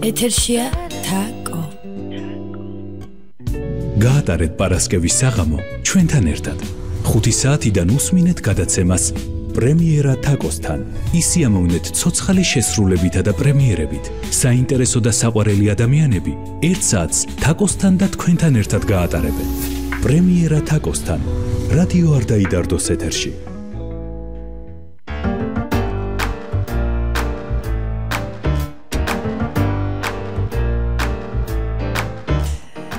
ეთერშია თაკო. გაატარეთ პარასკევის საღამო ჩვენთან ერთად. 5 საათიდან უსმინეთ გადაცემას პრემიერა თაკოსთან. ისიამოვნეთ ცოცხალი შესრულებითა და პრემიერებით. საინტერესო და საყვარელი ადამიანები 1 საათს თაკოსთან და თქვენთან ერთად გაატარებენ. პრემიერა თაკოსთან. რადიო არ დაიდარდოს ეთერში.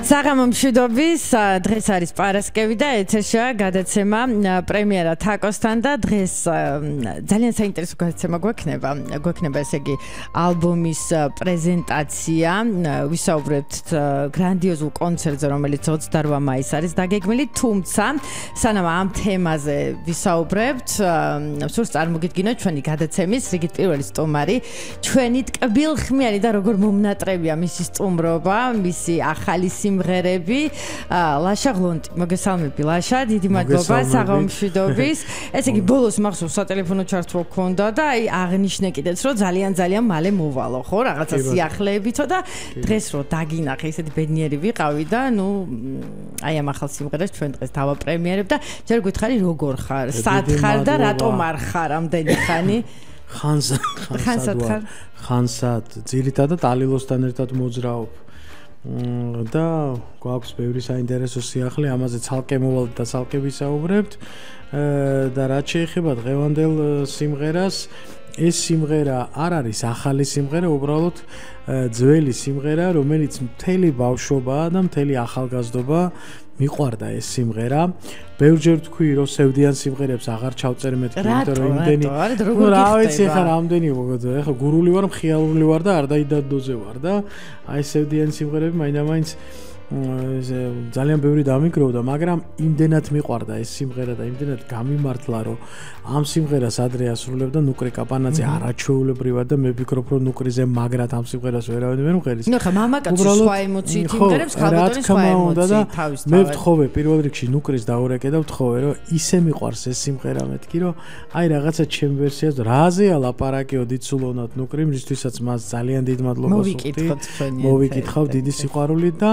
საღამო მშვიდობის, დღეს არის პარასკევი და ეთერშია გადაცემა პრემიერა თაკოსთან და დღეს ძალიან საინტერესო გადაცემა გვექნება ესე იგი ალბომის პრეზენტაცია. ვისაუბრებთ გრანდიოზულ კონცერტზე, რომელიც 28 მაისს არის დაგეგმილი, თუმცა სანამ ამ თემაზე ვისაუბრებთ, სურს წარმოგიდგინოთ ჩვენი გადაცემის რიგით პირველი სტუმარი, ჩვენი ტკბილხმიანი და როგორ მომნატრებია მისი სტუმრობა, მისი ახალი სიმღერები, ლაშა ღლონტი. მოგესალმები ლაშა, დიდი მადლობა საღამო მშვიდობის. ესე იგი ბოლოს მახსოვს სატელეფონო ჩართვა გქონდა და აი აღნიშნე კიდეც რომ ძალიან მალე მოვალო, ხო, რაღაცა სიახლეებითო და დღეს რო დაგინახე, ისეთი ბედნიერი ვიყავი და ნუ აი ამ ახალ სიმღერას ჩვენ დღეს დავაპრემიერებ და ჯერ გითხარი როგორ ხარ, სად ხარ და რატომ არ ხარ ამდენი ხანი? ხანსად ძირითადად ალილოსთან ერთად მოძრაობ. და გვაქვს ბევრი საინტერესო სიახლე, ამაზე ცალკე მოვალთ და ცალკე ვისაუბრებთ. და რაც შეეხება დღევანდელ სიმღერას, ეს სიმღერა არ არის ახალი სიმღერა, უბრალოდ ძველი სიმღერა, რომელიც მთელი ბავშვობა და მთელი ახალგაზრდობა მიყვარდა ეს სიმღერა. ბევრჯერ თქვი, რომ სევდიან სიმღერებს აღარ ჩავწერ მეთქი, იმიტომ რომ იმდენი რა ვიცი, ხა რამდენი მოგოძა, ხა გურული ვარ, მხიარული ვარ და არ დაიდადოზე ვარ და აი სევდიან სიმღერები მაინდა-მაინც ძალიან ბევრი დამიგროვდა, მაგრამ იმდენად მიყვარდა ეს სიმღერა და იმდენად გამიმართლა, რომ ამ სიმღერას ადრე ასრულებდა ნუკრი კაპანაძე არაჩვეულებრივად და მე ვფიქრობ, რომ ნუკრიზე მაგრად ამ სიმღერას ვერავინ ვერ მღერის. ნუ ხა მამაკაცის სხვა ემოციით იმღერებს, ხალბატონის სხვა ემოციით თავისთავად. მე ვთხოვე პირველ რიგში ნუკრის დაურეკე და ვთხოვე, რომ ისე მიყვარს ეს სიმღერა მეთქი, რომ აი რაღაცა ჩემ ვერსიას რაზეა ლაპარაკიო დიცულონად ნუკრი, მისთვისაც მას ძალიან დიდ მადლობას ვუხდი. მოვიკითხავ დიდი სიყვარულით და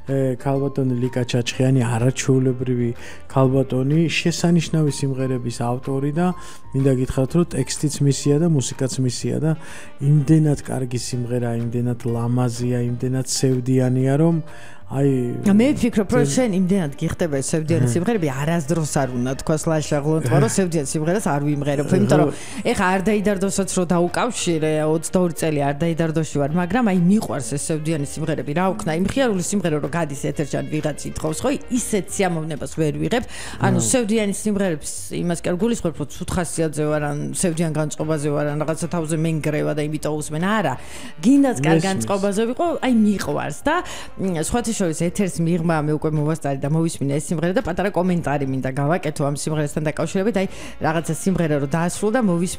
ქალბატონი ლიკა ჩაჩხიანი არაჩვეულებრივი ქალბატონი, შესანიშნავი სიმღერების ავტორი და მინდა გითხრათ, რომ ტექსტიც მისია და მუსიკაც მისია და იმდენად კარგი სიმღერა, იმდენად ლამაზია, იმდენად სევდიანია, რომ აი მე ვფიქრობ, რომ შენ იმდენად გიხდება ეს სევდიანი სიმღერები, არასდროს არ უნდა თქვას ლაშა ღლონტმა, რომ სევდიან სიმღერას არ ვიმღერებ, იმიტომ რომ ეხა არ დაიდარდოსაც რო დაუკავშირე, 22 წელი არ დაიდარდოში ვარ, მაგრამ აი მიყვარს ეს სევდიანი სიმღერები. რა ვქნა, იმ ხიარული სიმღერა რო გადის ეთერში ან ვიღაც ითხოვს, ხო, ისეთ სიამოვნებას ვერ ვიღებ. ანუ სევდიანი სიმღერებს იმას კი არ გულისხმობ, რომ ცუთხასიათზე ვარ, ან სევდიან განწყობაზე ვარ, ან რაღაცა თავზე მენგრევა და იმიტომ უსმენ. არა, გინდაც კარგ განწყობაზე ვიყო, აი მიყვარს და სხვათა შორის ეთერს მიღმა მე უკვე მოვასწარი და მოვისმინე ეს სიმღერა და პატარა კომენტარი მინდა გავაკეთო ამ სიმღერასთან დაკავშირებით. აი რაღაცა სიმღერა რო დაასრულა და